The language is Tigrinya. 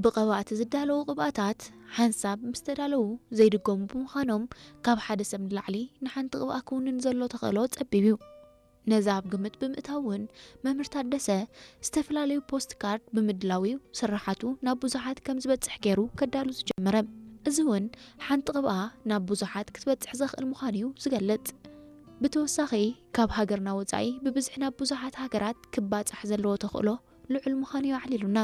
ብቐባእቲ ዝዳለዉ ቅብኣታት ሓንሳብ ምስ ተዳለዉ ዘይድገሙ ብምዃኖም፣ ካብ ሓደ ሰብ ንላዕሊ ንሓንቲ ቅብኣ ክውንን ዘሎ ተኽእሎ ጸቢብ እዩ። ነዚ ኣብ ግምት ብምእታው እውን፣ መምህር ታደሰ ዝተፈላለዩ ፖስት ካርድ ብምድላው እዩ ስርሓቱ ናብ ብዙሓት ከም ዝበጽሕ ገይሩ ከዳሉ ዝጀመረ። እዚ እውን ሓንቲ ቅብኣ ናብ ብዙሓት ክትበጽሕ ዘኽእል ምዃኑ እዩ ዝገልጽ። ብተወሳኺ፣ ካብ ሃገርና ወጻኢ ብብዝሒ ናብ ብዙሓት ሃገራት ክባጻሕ ዘለዎ ተኽእሎ ልዑል ምዃኑ እዩ ኣዕሊሉና።